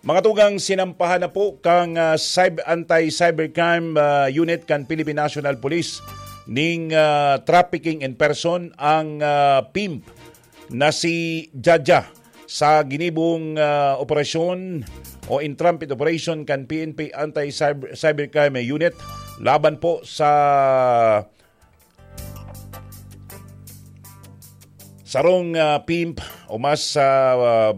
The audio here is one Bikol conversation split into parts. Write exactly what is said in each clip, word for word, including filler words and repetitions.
Mga tugang, sinampahan na po kang, ah, cyb-, anti-cybercrime, ah, unit kan Philippine National Police ning, ah, trafficking in person ang, ah, pimp na si Jaja sa ginibong, ah, operasyon o in-transit operation kan P N P Anti-Cyber-, Cybercrime Unit laban po sa sarong, ah, pimp o mas, ah,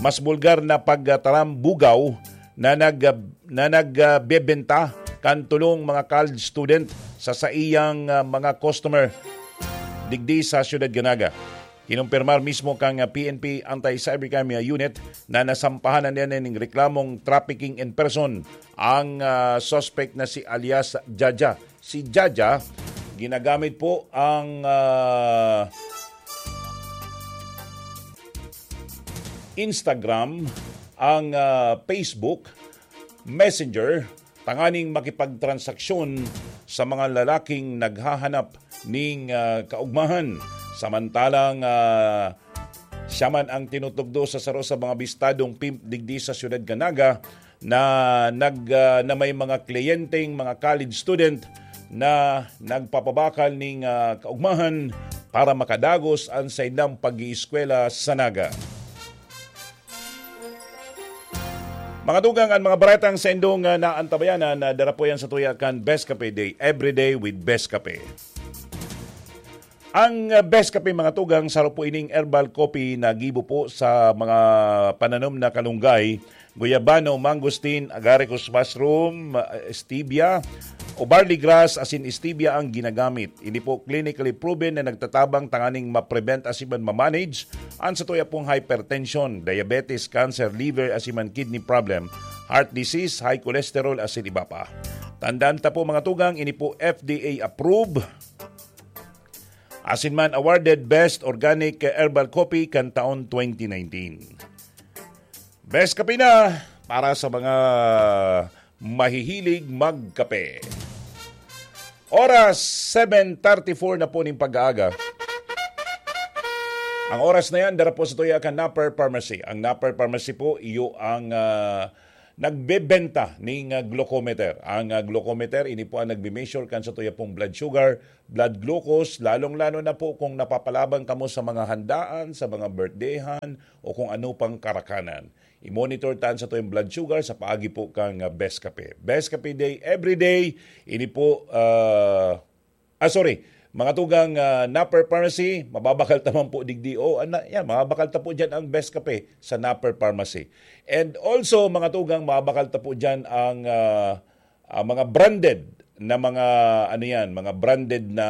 mas bulgar na pagtaram bugaw na nag-, na nagbebenta kan tulong mga college student sa saiyang, ah, mga customer digdi sa Siyudad Ganaga. Kinumpirmar mismo kang, ah, P N P Anti-Cybercrime Unit na nasampahan na niya ning reklamong trafficking in person ang, ah, suspect na si alias Jaja. Si Jaja, ginagamit po ang, ah, Instagram, ang, ah, Facebook, Messenger, tanganing makipagtransaksyon sa mga lalaking naghahanap ning, ah, kaugmahan. Samantalang, ah, siya man ang tinutugdo sa saro sa mga bistadong pimp digdi sa Siyudad Ganaga na nag, ah, na may mga kliyenteng mga college student na nagpapabakal ning, ah, kaugmahan para makadagos an saindang pag-iiskwela sa Naga. Mga tugang, an mga baretang saindong, ah, naantabayanan na dara po yan sa tuya kan Best Cafe Day, Every Day with Best Cafe. Ang, ah, Best Cafe, mga tugang, saro po ining herbal coffee na gibo po sa mga pananom na kalunggay, guyabano, mangosteen, agaricus mushroom, ah, stevia, o barley grass asin stevia ang ginagamit. Ini po clinically proven na nagtatabang tanganing ma-prevent asin man ma-manage an satuya pong hypertension, diabetes, cancer, liver asin man kidney problem, heart disease, high cholesterol asin iba pa. Tandaan ta po, mga tugang, ini po F D A approved asin man awarded Best Organic Herbal Coffee kan taon twenty nineteen. Best Kape na para sa mga mahihilig magkape. Oras, seven thirty-four na po ning pag-aaga. Ang oras na yan, dara po sa tuya kan Napper Pharmacy. Ang Napper Pharmacy po, iyo ang, ah, nagbebenta ning, ah, glucometer. Ang, ah, glucometer, ini po ang nagme-measure kan sa tuya pong blood sugar, blood glucose, lalong-lalo na po kung napapalaban kamo sa mga handaan, sa mga birthdayhan, o kung ano pang karakanan. I-monitor ta an satuyang blood sugar sa paagi po kan, ah, Best Kape. Best Kape Day, every day. Ini po, ah, ah, sorry, mga tugang, ah, Napper Pharmacy, mababakal ta man po digdi. O, ana, yan, mababakal ta po dyan ang Best Kape sa Napper Pharmacy. And also, mga tugang, mababakal ta po dyan ang, ah, ah, mga branded na mga, ano yan, mga branded na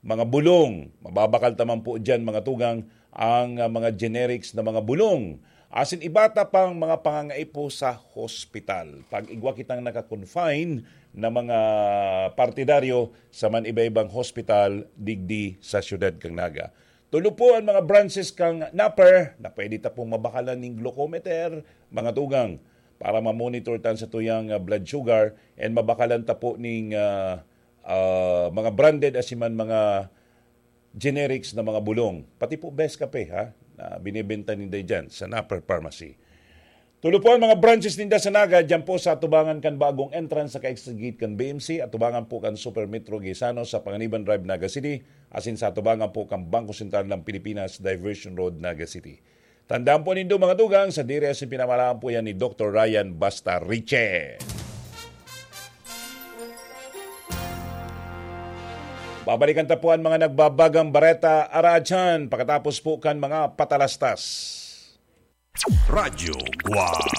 mga bulong. Mababakal ta man po dyan, mga tugang, ang, ah, mga generics na mga bulong. Asin iba ta pang mga pangangaipo sa hospital. Pag igwa kitang naka-confine na mga partidaryo sa man iba-ibang hospital digdi sa siyudad kan Naga. Tulo po ang mga branches kan Napper na pwede ta pong mabakalan ning glucometer, mga tugang, para ma-monitor ta an satuyang, ah, blood sugar and mabakalan ta po ning, ah, ah, mga branded asin man mga generics na mga bulong. Pati po Best Kape, ha, na binebenta ninda dyan sa Napper Pharmacy. Tulo po ang mga branches ninda sa Naga, dyan po sa atubangan kan bagong entrance sa Exit Gate kan B M C, atubangan po kan Super Metro Gaisano sa Panganiban Drive, Naga City, asin sa atubangan po kan Bangko Sentral ng Pilipinas, Diversion Road, Naga City. Tandaan po nindo, mga tugang, sadiri asin pinamalaan po yan ni Doktor Ryan Basta Riche. Babalikan ta po ang mga nagbabagang bareta, aradyan, pakatapos po kan mga patalastas. Radyo Guam.